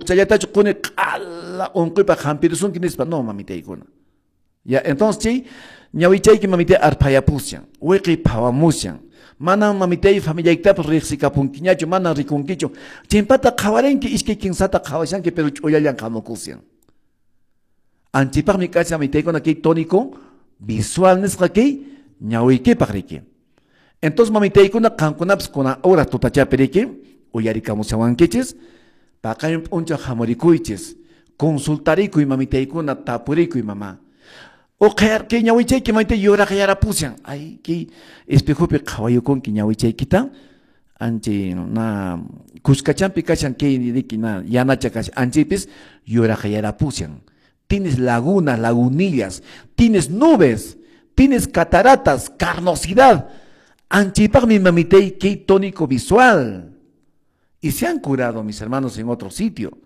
Uqchallatachu quni q'ala unquypaq hampirusunki nispa, no mamitaykuna. Ya, entonces chay ñawichayki mamitay arphayapushan, wiqi phawamushan. Manam mamitay familiaykitapas riqsikapunkiñachu, manam rikunkichu. Chimpata qhawarinki, iskay kinsata qhawashanki, pero ch'ullallan hamukushan. Anchipaqmi kashan mamitaykuna kay tónico visual nisqa kay ñawiykipaq riki. Entonces mamitaykuna qankunapas kuna hora tutachapi riki, uyarikamushawankichis, paqarin p'unchaw hamurikuychis, consultarikuy mamitaykuna, tapurikuy mama. Uqhayar kay ñawichayki mamitay yuraqyarapushan. Ay, kay espejopi qhawayukunki ñawichaykita, anchay na kuskachampi kashan kay riki na yanacha kashan, anchaypis yuraqyarapushan. Tienes lagunas, lagunillas, tienes nubes, tienes cataratas, carnosidad. Anchaypaqmi mamitay kay tónico visual. Y se han curado, mis hermanos, en otro sitio.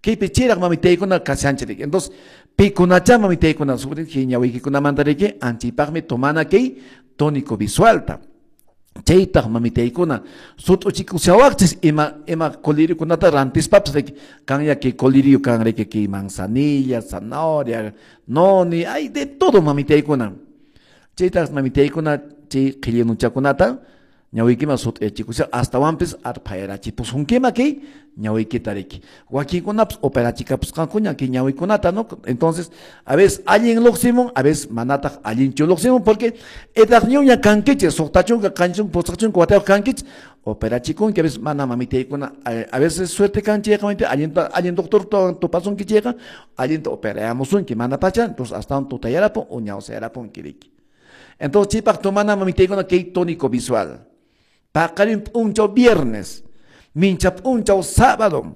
Kaypi chiraq mamitaykuna kashanchik. Entonces, pikunacha mamitaykuna sobre kay ñawiykikunamanta riki, anchaypaqmi tomana kay tónico visualta. Chaytaq mamitaykuna sut'uchikushawaqchis ima coliriokunata rantispapas riki, kanya kay colirio kan riki kay manzanilla, zanahoria, noni, ay de todo mamitaykuna. Chaytaq mamitaykuna chay qhillinuchakunata ñawiykiman sut'uyachikusha astawanpis arphayarachipusunkima kay ñawiykita riki. Wakinkunapas operachikapusqankuña kay ñawikunata, ¿no? Entonces, a veces allin luqsimun, a veces manataq allinchu luqsimun, porque edadñuña kankichis, suqta chunka, qanchis chunka, pusaq chunka watayuq kankichis, operachikunki, a veces mana mamitaykuna, a veces suerte kanchiyqa, mamita, allinta, allin doctor tupasunki chayqa, allinta operayamusunki, mana pacha, entonces astawan tutayarapun o ñawsayarapunki riki. Entonces, chaypaq tomana mamitaykuna kay tónico visual. Paqarin p'unchaw viernes, mincha p'unchaw sábado,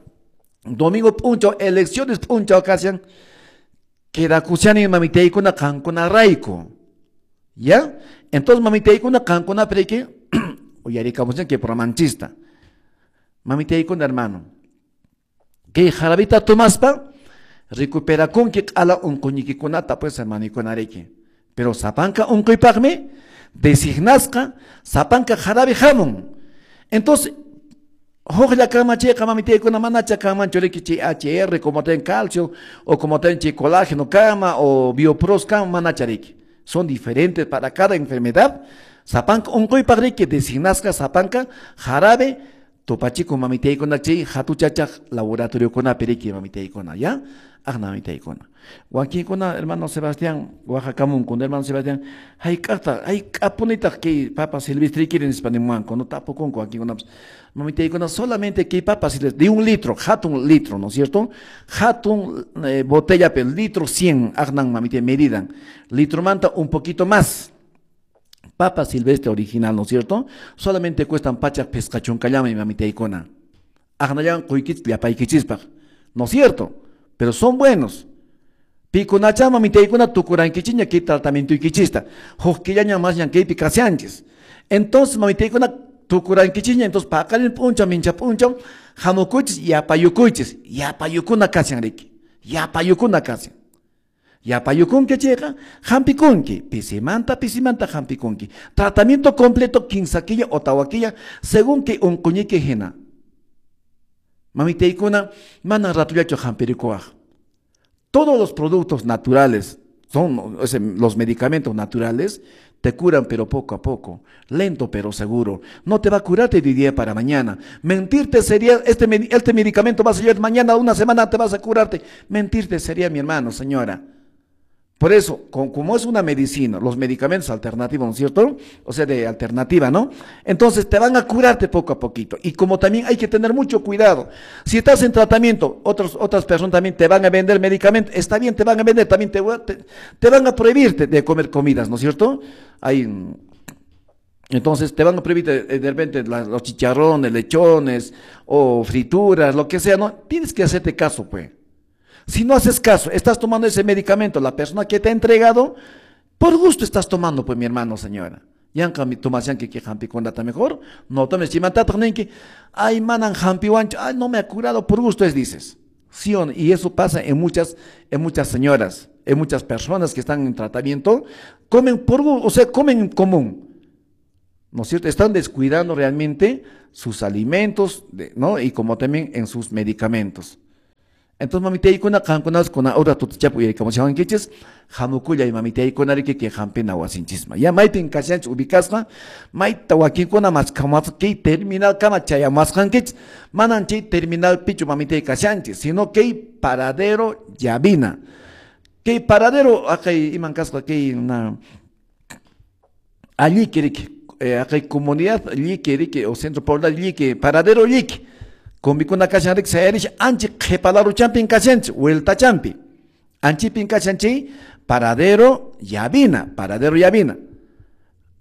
domingo p'unchaw elecciones p'unchaw kashan, quedakushani mamitaykuna qankuna rayku. ¿Ya? Entonces mamitaykuna qankuna priki, uyarikamushan kay programanchista. Mamitaykuna hermano, kay jarabita tomaspa, recuperakunki q'ala unquñikikunata pues hermanikuna riki. Pero sapanka unquypaqmi designasqa sapanka jarabe hamun. Entonces, huklla kamachiyqa mamitaykuna manacha kanmanchu riki chay HR como ten calcio o como ten chay colágeno kama o biopros kama manacha riki. Son diferentes para cada enfermedad. Sapanka unquypaq riki designasqa sapanka jarabe tupachiku mamitaykuna chay hatuchachaq laboratoriokunapi riki mamitaykuna, ¿ya? Aqna mamitaykuna. Wakinkuna hermano Sebastián, Oaxacamunku, hermano Sebastián, hayk'aqta, hayk'apunitaq kay papa silvestre quieren nispa nimuwanku, no tapukunku wakinkunapas. Mamitaykuna solamente kay papa silvestre, de 1 litro, hatun litro, ¿no es cierto? Hatun, botella, pero litro 100, aqnan mamitay medidan. Litro manta un poquito más. Papa silvestre original, ¿no es cierto? Solamente cuestan pachak pescachuncallama y mamitaykuna. Aqnallan quykich llapaykichispaq, ¿no es cierto? Pero son buenos. Pikunachama mamitaykuna tukurankichiña kay tratamiento ikichista. Huk killaña más ñan kaypi kasianchis. Entonces mamitaykuna tukurankichiña, entonces paqarin p'unchaw, mincha p'unchaw, hamukuychis, yapayukuychis. Yapayukuna kasian riki. Yapayukuna kasian. Yapayukunki chayqa, hampikunki. Pisimanta, pisimanta hampikunki. Tratamiento completo, kinsa killa o tawa killa, según kay unquñiki hina. Mamitaykuna, mana ratullachu hampirikuwaq. Todos los productos naturales, son, o sea, los medicamentos naturales, te curan pero poco a poco, lento pero seguro. No te va a curarte de día para mañana. Mentirte sería, este medicamento vas a llevar mañana, una semana te vas a curarte. Mentirte sería, mi hermano, señora. Por eso, como es una medicina, los medicamentos alternativos, ¿no es cierto? O sea, de alternativa, ¿no? Entonces te van a curarte poco a poquito. Y como también hay que tener mucho cuidado. Si estás en tratamiento, otras personas también te van a vender medicamentos. Está bien, te van a vender, también te van a prohibirte de comer comidas, ¿no es cierto? Hay, entonces te van a prohibir de repente los chicharrones, lechones o frituras, lo que sea, ¿no? Tienes que hacerte caso, pues. Si no haces caso, estás tomando ese medicamento, la persona que te ha entregado, por gusto estás tomando, pues, mi hermano, señora. Yanka mi tomas yanki que hampi con data mejor, no tomes chimantataq ninki, ay manan hampi wancho, ay no me ha curado, por gusto es, dices. Sí o no, y eso pasa en muchas señoras, en muchas personas que están en tratamiento, comen por o sea, comen en común. ¿No es cierto? Están descuidando realmente sus alimentos, de, ¿no? Y como también en sus medicamentos. Entonces mamitaykuna qankunas kuna hora tutachapu uyarikamushawankichis hamukullay mamitaykuna riki kay hampina wasinchisman. Ya maypin kashanchis ubicasqa mayta wakinkuna maskhamuwasqa kay terminal kama chayamuwasqankichis manan chay terminalpichu mamitay kashanchis sino kay paradero llavina. Kay paradero aqay iman kasqa kay na alliki riki aqay comunidad lliki riki o centro poblado lliki paradero lliki kombikuna kashan riki sayarish anchi qhipalaruchampin kashanchis vueltachampi anchipin kashan chay paradero llavina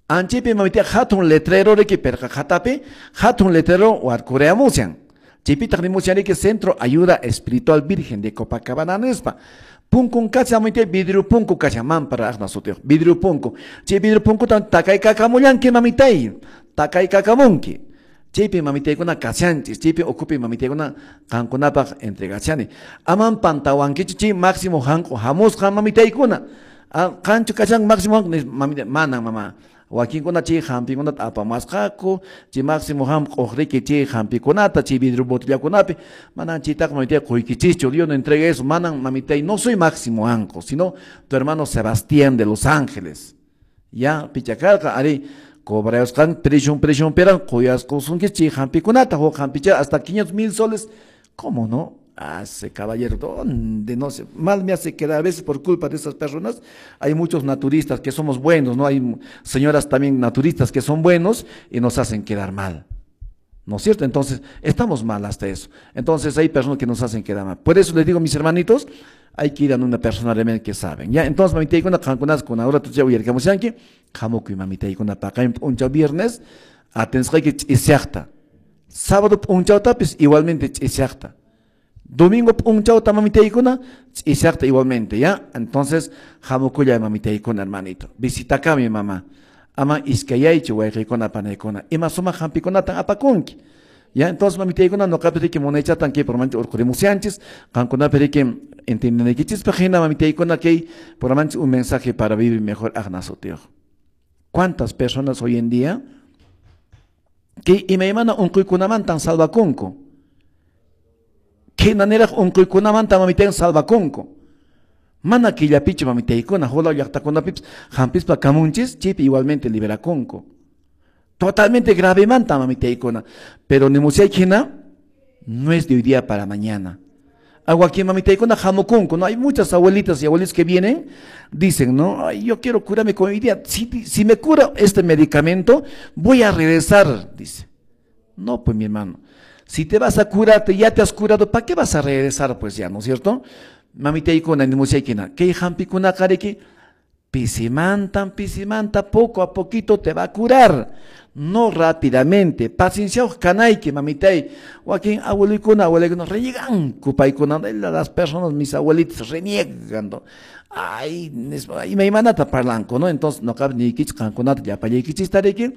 anchipi mamita hatun letrero riki perqa qhatapi hatun letrero warkureamushan chaypitaq nimushan riki Centro Ayuda Espiritual Virgen de Copacabana nispa. Punkun kashan mamita vidrio punku kashan mampara aqna sutiyuq vidrio punku chay vidrio punkuta takaykakamunki mamitay takaykakamunki chaypi mamitaykuna kashanchis chaypi ukupi mamitaykuna qankunapaq entregashani aman pantawankichu chay Máximo Hanq'u hamusqa mamitaykuna qanchu kashan Máximo Hanq'u mamita manan mama wakinkuna chay hampikunata apamasqaku chay Máximo Hanq'uq riki chay hampikunata chay vidrio botellakunapi manan chaytaqa mamitay quykichischu. Yo no entregué eso, manan mamitay, no soy Máximo Hanq'u sino tu hermano Sebastián de Los Ángeles. Ya pichakarqa ari cobrayusqan prisión peran quyasqusunki chay hampikunata huk hampicha hasta 500,000 soles. ¿Cómo no? Hace caballero, ¿dónde? No sé, mal me hace quedar a veces por culpa de esas personas. Hay muchos naturistas que somos buenos, ¿no? Hay señoras también naturistas que son buenos y nos hacen quedar mal, ¿no es cierto? Entonces, estamos mal hasta eso. Entonces, hay personas que nos hacen quedar mal. Por eso les digo, mis hermanitos, hay que ir a una persona realmente que saben. Ya, entonces, mamitaykuna, qankunas, kuna hora tucha uyarikamushanki, hamukuy mamitaykuna paqarin p'unchaw viernes, atensqayki ch'isiaqta. Sábado p'unchawtapis igualmente ch'isiaqta. Domingo p'unchawta mamitaykuna ch'isiaqta igualmente, ¿ya? Entonces, hamukullay mamitaykuna, hermanito. Visitakami, mamá. Ama iskayaychu wayqiykuna panaykuna. Ima sumaq hampikunatan apakunki. Ya, entonces mamitaykuna noqapi riki munaychatan kay programanchis urqurimushanchis, qankunapi riki entiendenaykichispaq hina mamitaykuna kay programanchis un mensaje para vivir mejor aqna sutiyuq. ¿Cuántas personas hoy en día que imaymana unquykunamantan salvakunku? Khinaniraq unquykunamanta mamitaykuna salvakunku. Mana killapichu mamitaykuna, hulaw llaqtakunapipis hampispa kamunchis, chaypi igualmente liberakunku. Totalmente gravemanta mamitaykuna. Pero nimusayki hina no es de hoy día para mañana. Aguaquín mamitaykuna hamukunku, ¿no? Hay muchas abuelitas y abuelitos que vienen, dicen, ¿no? Ay, yo quiero curarme con hoy día. Si me cura este medicamento, voy a regresar, dice. No, pues mi hermano, si te vas a curarte, ya te has curado, ¿para qué vas a regresar? Pues ya, ¿no es cierto? Mamitaykuna nimusaykina, kay hampikuna kariki, pisimantan, pisimanta, poco a poquito te va a curar. No rápidamente. Paciencia kanayki, mamitay. Wakin abuelikuna, abuelikuna, reniegan paykuna, las personas, mis abuelitas, reniegan. Ay, imaymanata parlanku, ¿no? Entonces, no cabe ni kich, qankunata llapallaykichis tariki,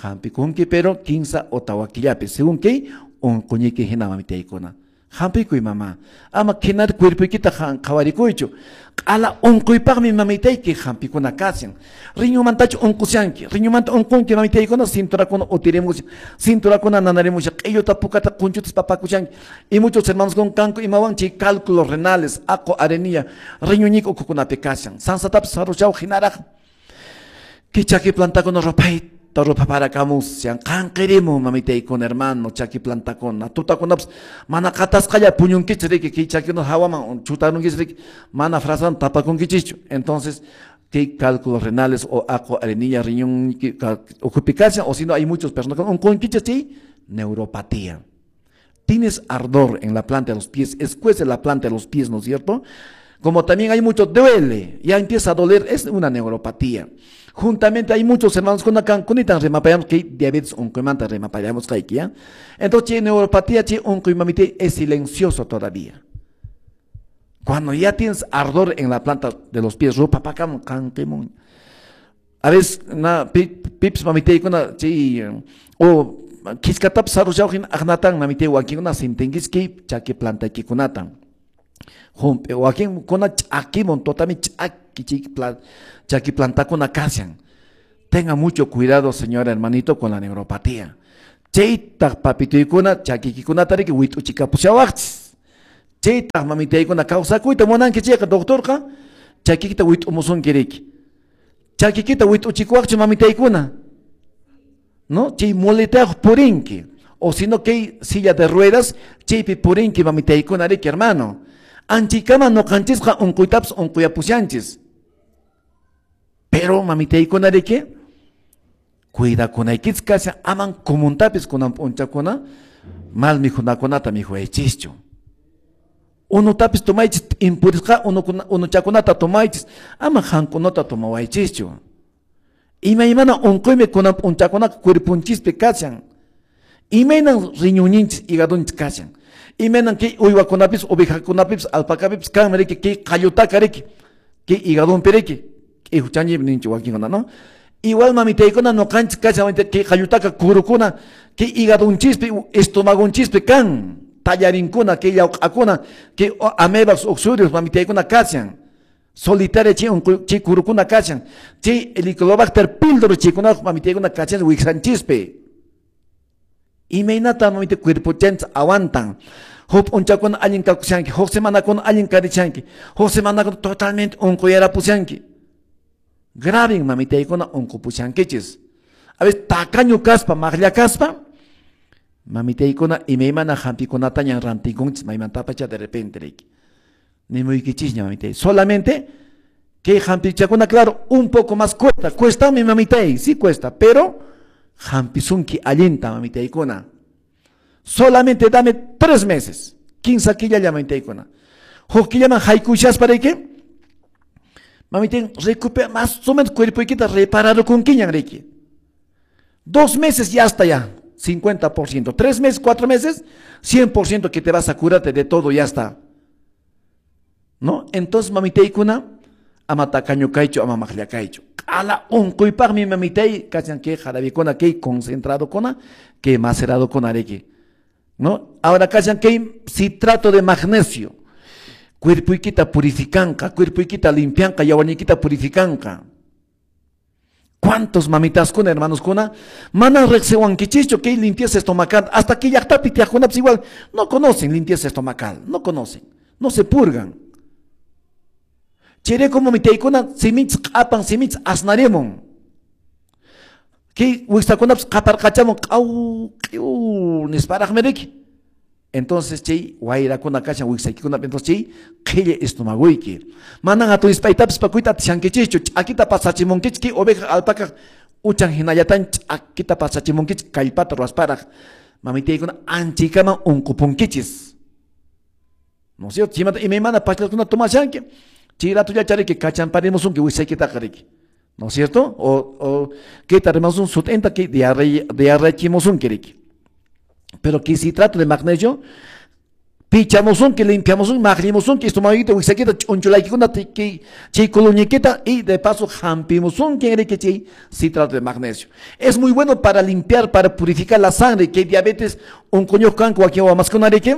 hampikunki, pero 15 o tawakillapi, según kay unquñiki hina mamitaykuna. Hampikuy mamá. Ama khinar cuerpoykita qhawarikuychu. Q'ala unquypaqmi mamitayki hampikuna kashan. Riñumantachu unqushanki. Riñumanta unqunki mamitaykuna cinturakuna utirimushan. Cinturakuna nanarimushan. Q'illuta pukata qunchutas papakushanki. Y muchos hermanos con kanku imawan chay cálculos renales, aqu arenilla, riñuñiku ukhukunapi kashan. Sansatapis sarushaw hinaraq. Kay chaki plantakuna rupayta rupaparakamushan, qanqirimun mamitaykuna hermano, chaki plantakuna, tutakunapas mana qatasqalla puñunkichis riki, kay chakikuna hawaman chutarunkichis riki, mana frasan tapakunkichischu. Entonces, kay cálculos renales o aqu arenilla riñón ukhupi kashan, o si no hay muchos personas con unqunkichis chay neuropatía. Tienes ardor en la planta de los pies, escuece la planta de los pies, ¿no es cierto? Como también hay mucho duele, ya empieza a doler, es una neuropatía. Juntamente hay muchos hermanos con acá, remapayamos que diabetes unquymanta remapayamos que ¿ya? Entonces, che, neuropatía, che, unquymamite es silencioso todavía. Cuando ya tienes ardor en la planta de los pies, ropa pa canquemon. A veces, na pips mamite kuna che o kiskatap sarushawhin agnatan mamite wakinkuna sintinkis kay chaki plantaykikunatan. Humpe wakin kuna ch'akimon totami ch'aki chaki plantakuna kashan. Tenga mucho cuidado, señora hermanito, con la neuropatía. Chaytaq papituykuna chakikikunata riki wit'uchikapushawaqchis. Chaytaq mamitaykuna kawsakuyta munanki chayqa doctorqa chakikita wit'umusunki riki. Chakikita wit'uchikuwaqchu mamitaykuna? No, chay muletayuq purinki. O si no, kay silla de ruedas chaypi purinki mamitaykuna riki, hermano. Anchikama noqanchisqa unquytapas unquyapushanchis. Pero mamitaykuna riki, cuidakunaykichis kashan, aman comuntapis kunan p'unchakuna mal mikhunakunata mikhuaychischu. Unutapis tomaychis, impurisqa unuchakunata tomaychis, ama hankunata tomawaychischu. Imaymana unquymi kunan p'unchakunaqa cuerponchispi kashan. Imaynan riñonninchis, hígadonchis kashan. Imaynan kay uywakunapis, ovejakunapis, alpacapipis kanmi riki, kay qallutaka riki, kay hígadonpi riki, kay huchanchikmi ninchik wakinkuna, no? Igual mamitaykuna noqanchis kashan, kay qallutaka kurukuna, kay hígadonchispi, estomagonchispi kan, tallarinkuna, kay llawq'akuna, kay amebas, oxurios, mamitaykuna kashan. Solitaria chay unquy, chay kurukuna kashan, chay Helicobacter pylori chaykuna mamitaykuna kashan wiksanchispi. Imaynata mamita cuerpochanchis aguantan. Huk p'unchakuna allin kakushanki, huk semanakuna allin karichanki, huk semanakuna totalmente unquyarapushanki. Graven mamitaykuna unqupushankichis. A veces tacaño kaspa, maqlla kaspa, mamitaykuna imaymana hampikunataña rantikunchis maymantapacha de repente riki. Nimuykichisña mamitay. Solamente que hampichakuna, claro, un poco más cuesta. Cuesta mi mamitay, sí cuesta, pero hampisunki allinta mamitaykuna. Solamente dame 3 meses, 15 killa mamitaykuna. Huk killaman haykushaspa riki, mamitay recupera más o menos cuerpoykita repararukunkiñan riki. 2 meses ya está ya, 50%. 3 meses, 4 meses, 100% que te vas a curarte de todo, ya está. ¿No? Entonces, mamitaykuna, ama tacaño kaychu, ama maqlla kaychu. Q'ala unquypaqmi mamitay, kachan kay jarabikuna, kay concentrado kuna, kay macerado kuna riki. ¿No? Ahora kachan kay citrato de magnesio. Cuerpoykita purificanqa, cuerpoykita limpianqa, yawarniykita purificanqa. ¿Cuántos mamitas kuna, hermanos kuna? Mana riqsiwankichishchu kay limpieza estomacal, hasta que llaqtapi tiyaqkunapas igual no conocen limpieza estomacal, no conocen, no se purgan. Chayrayku mamitaykuna siminchis q'apan, siminchis asnarimun. Kay wiksakunapas qaparqachamun, q'aw, q'iw nisparaqmi riki. Entonces chay wayrakuna kashan wiksaykikunap, entonces chay qhilli estomagoyki. Manan hatun ispaytapis pakuyta atishankichischu, ch'akita pasachimunkichik, kay oveja alpaca uchan hinallatan ch'akita pasachimunkichik kallpata ruwasparaq. Mamitaykuna anchaykaman unqupunkichis. No sé, chimata imaymana pachakuna tomashanki. Chay ratulla chariki kachamparimusunki wiksaykitaqa riki. ¿No es cierto? O que rimasun sut'inta kay diarreachimusunki riki. Pero que citrato de magnesio, pichamusunki, limpiamusunki, maqllimusunki, estomaguita, wiksaykita, ch'unchulaykikuna, chay coloñiquita y de paso hampimusunki riki chay citrato de magnesio. Es muy bueno para limpiar, para purificar la sangre, que diabetes, unquñuq kanku wakin wamaskuna riki,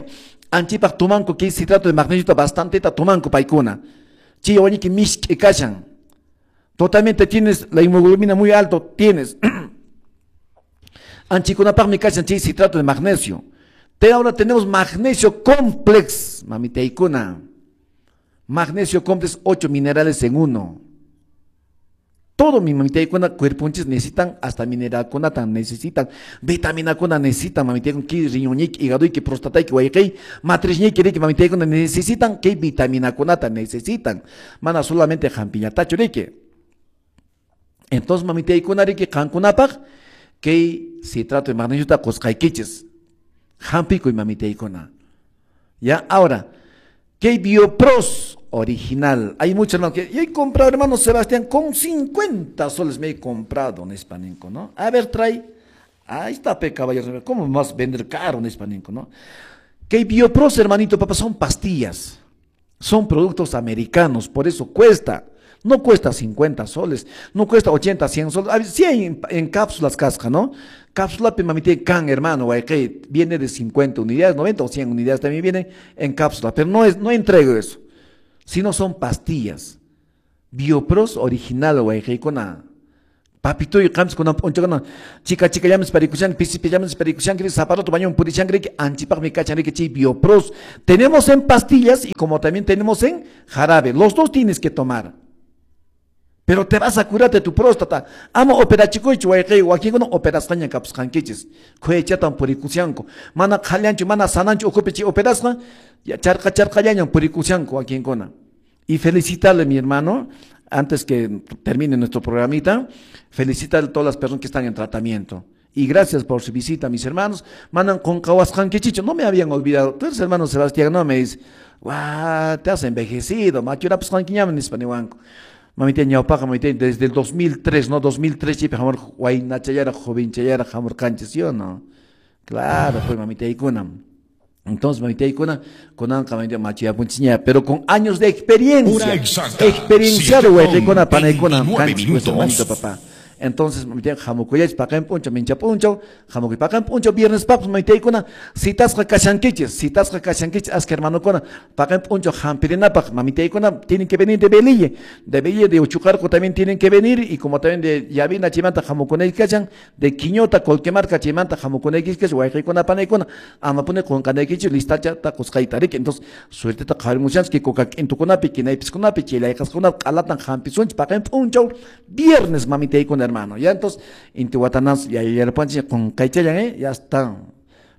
anchipaq tumanku kay citrato de magnesio bastante tumanku paykuna. Chay wañiki mishk'i kashan. Totalmente tienes la hemoglobina muy alto, tienes. Anchikunapaqmi kashan chay citrato de magnesio. Ahora tenemos magnesio complex, mamitaykuna. Magnesio complex, 8 minerales en uno. Todo mi mamitaykuna cuerponchis necesitan, hasta mineralkunata necesitan, vitaminakuna necesitan, mamitaykuna, ki riñoñiki, hígadoyki, prostatayki, wayqey, matrisñiki, riki, mamitaykuna necesitan, ki vitaminakunata necesitan. Mana solamente hampiñatachu riki. Entonces mamitaykuna riki qankunapaq kay citrato de magnesio qusqaykichis. Hampikuy mamitaykuna. Ya, ahora, kay Biopros original. Hay muchos hermanos que, y he comprado, hermano Sebastián, con 50 soles me he comprado un hispaninco, ¿no? A ver, trae. Ahí está, pe, caballero. ¿Cómo me vas a vender caro un hispaninco, no? Que Biopros, hermanito, papá, son pastillas. Son productos americanos, por eso cuesta. No cuesta 50 soles, no cuesta 80, 100 soles. A ver, sí hay en cápsulas casca, ¿no? Cápsula, pe, mamite, can, hermano, guay, que viene de 50 unidades, 90 o 100 unidades también viene en cápsula, pero no entrego eso. Sino son pastillas. Biopros original, guay, que con a Papituy qamsi kunan p'unchawkuna chika chikallamis parikushanki, pisi pillamis parikushanki, zaparoto bañón purishanki, anchipaqmi kachan chay Biopros. Tenemos en pastillas y como también tenemos en jarabe. Los dos tienes que tomar. Pero te vas a curar de tu próstata. Ama operachikuychu wayqey, wakinkuna operasqaña kapusqankichis. Khuechatan purikushanku. Mana qhallanchu, mana sananchu ukhupi chay operasqa, charqa charqallañan purikushanku wakinkuna. Y felicitarle, mi hermano, antes que termine nuestro programita, felicitar a todas las personas que están en tratamiento. Y gracias por su visita, mis hermanos. Manam qunqawasqankichichu, no me habían olvidado. Tú eres hermano Sebastián, no me dice, guau, te has envejecido, machurapusqankiñam nispa niwanku. Mamita ñawpaqa, mamita, desde el 2003, ¿no? 2003 chaypi hamur waynachallaraq, jovenchallaraq hamurqanchis, ¿sí o no? Claro, pues mamitaykuna. Entonces, mamitaykuna, kunanqa mamita machuyapunchikña, pero con años de experiencia. Hora exacta, Experienciado, wayqikuna, panaykuna, 7:29 kanchis, pues, minutos. hermanito, papá. Entonces, mamita, hamukuyachis, paqarin p'unchaw, mincha p'unchaw, hamukuy paqarin p'unchaw, viernes papas, mamitaykuna, citasqa kashankichis, citasqa kashankichis, aska hermanokuna, paqarin p'unchaw hampirinapaq, mamitaykuna, tienen que venir de Velille, de Velille, de Uchucarco también tienen que venir, y como también de Llavina, chaymanta hamukunayki kashan, de Quiñota, Colquemarca, chaymanta hamukunayki kashan, wayqikuna, panaykuna, amapuni qunqanaykichis, listachata qusqayta, riki. Entonces, suerteta qhawarimushanchis, kuka k'intukunapi, kinaypiskunapi, chilayqaskunapi, q'alatan hampisunchis, paqarin p'unchaw, viernes, mamitaykuna, hermano. Ya entonces, intiwatanas, ya yarpanchis, qunqaychallan, ya está.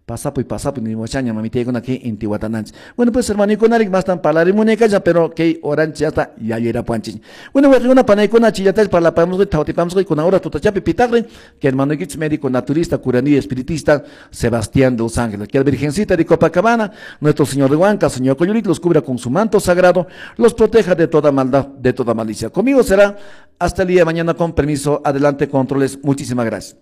Pasapuy, pasapuy, ni mochaña, mamitaykuna, que intiwatananchis. Bueno, pues, hermano, más tan palarimuneca, pero que oranchi ya está, ya yerapuanchis. Bueno, wayqikuna, panaykuna, chillatas, parlapamos, tautipamos, con ahora tutachapi, pitagre, que hermano médico naturista, curanillo espiritista, Sebastián de Los Ángeles. Que la Virgencita de Copacabana, nuestro Señor de Huanca, Señor Coyurit, los cubra con su manto sagrado, los proteja de toda maldad, de toda malicia. Conmigo será hasta el día de mañana, con permiso. Adelante, controles. Muchísimas gracias.